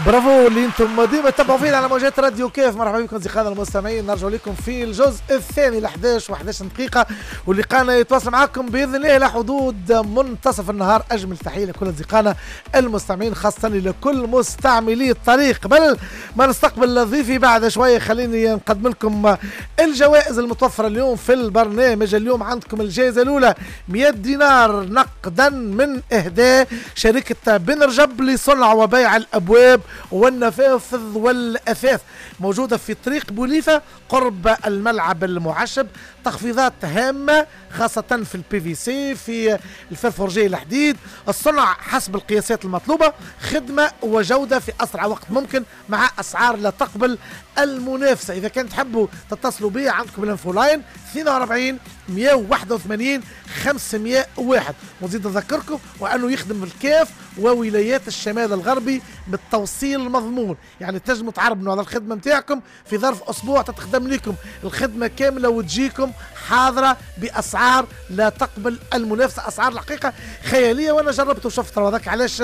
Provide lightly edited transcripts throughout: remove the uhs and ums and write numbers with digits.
برافو اللي انتم ديما تتبعوا فينا على موجات راديو كيف. مرحبا بكم اصدقائنا المستمعين، نرجع لكم في الجزء الثاني ل 11 و11 دقيقة، ولقانا يتواصل معكم باذن الله الى حدود منتصف النهار. اجمل تحية لكل اصدقائنا المستمعين، خاصة لكل مستعملي الطريق. قبل ما نستقبل ضيفي بعد شوية، خليني نقدم لكم الجوائز المتوفرة اليوم في البرنامج. اليوم عندكم الجائزة الاولى 100 دينار نقدا من اهداء شركة بن رجب لصنع وبيع الابواب والنفاذ والأثاث، موجودة في طريق بوليفة قرب الملعب المعشب. تخفيضات هامة خاصة في ال PVC، في ال fer forgé الحديد، الصنع حسب القياسات المطلوبة، خدمة وجودة في أسرع وقت ممكن مع أسعار لا تقبل المنافسة. إذا كان تحبوا تتصلوا بي عندكم ال infoline 42 181 501. ونزيد نذكركم وأنه يخدم الكاف وولايات الشمال الغربي بالتوصيل المضمون، يعني تنجموا تعربنوا على الخدمة نتاعكم في ظرف أسبوع، تتخدم لكم الخدمة كاملة وتجيكم حاضرة بأسعار لا تقبل المنافسة، أسعار الحقيقة خيالية، وأنا جربت وشفت. هذاك علاش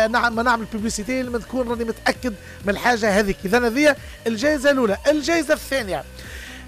نعم ما نعمل publicité لما تكون راني متأكد من الحاجة هذيك. إذا هذه الجائزة الأولى. الجائزة الثانية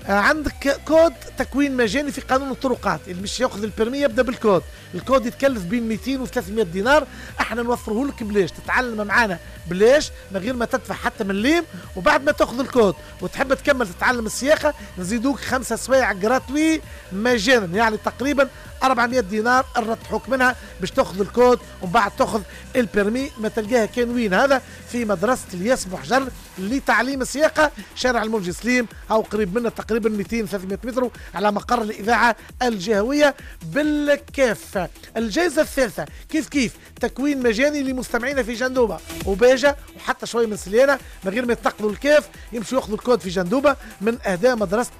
عندك كود تكوين مجاني في قانون الطرقات، اللي مش ياخذ ال permis يبدا بال code، ال code يتكلف بين 200 و 300 دينار، احنا نوفره لك بلاش، تتعلم معانا بلاش من غير ما تدفع حتى مليم. وبعد ما تاخذ الكود وتحب تكمل تتعلم السياقه نزيدوك 5 سوايع gratuit مجانا، يعني تقريبا 400 دينار نرتحوك منها باش تاخذ الكود ومن بعد تاخذ ال permis. ما تلقاها كان وين؟ هذا في مدرسه الياس بوحجر لتعليم السياقه، شارع المنجي سليم، او قريب منا تقريبا 200 300 متر على مقر الاذاعة الجهوية بالكاف. الجائزة الثالثة كيف كيف تكوين مجاني لمستمعينا في جندوبه وباجه وحتى شوية من سليانه، من غير ما يتنقلوا الكاف يمشوا ياخذوا الكود في جندوبه من اهداء مدرسه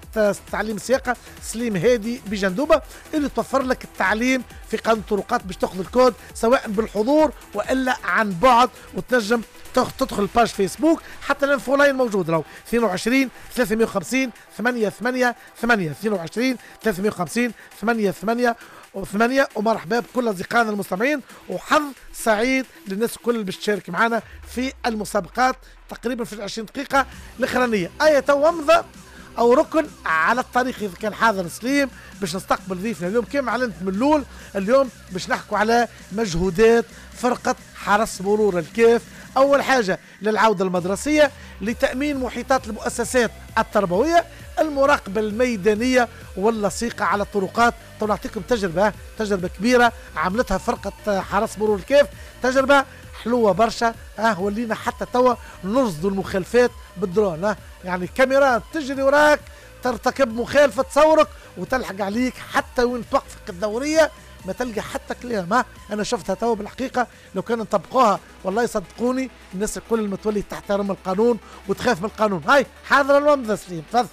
تعليم السياقه سليم هادي بجندوبه، اللي توفر لك التعليم في قانون الطرقات باش تاخذ الكود سواء بالحضور والا عن بعد، وتنجم تدخل page فيسبوك، حتى ال infoline موجود راهو 22 350 888 22 350 888. ومرحبا بكل اصدقائنا المستمعين، وحظ سعيد للناس الكل باش تشارك معنا في المسابقات تقريبا في 20 دقيقة الاخرانية. ايه تو ومضة او ركن على الطريق اذا كان حاضر سليم باش نستقبل ضيفنا اليوم. كما اعلنت من الاول، اليوم باش نحكوا على مجهودات فرقه حرس مرور الكاف. اول حاجة للعودة المدرسية، لتامين محيطات المؤسسات التربوية، المراقبة الميدانية واللصيقه على الطرقات. تو نعطيكم تجربه كبيرة عملتها فرقه حرس مرور الكاف، تجربه حلوة برشا. ولينا حتى توا نرصدوا المخالفات بالدرون، يعني كاميرا تجري وراك ترتكب مخالفة تصورك وتلحق عليك حتى وين توقفك الدورية ما تلقى حتى كلام. انا شفتها توا بالحقيقة، لو كان نطبقوها والله يصدقوني الناس الكل المتولي تحترم القانون وتخاف من القانون. هاي حاضره الومضه سليم، تفضل.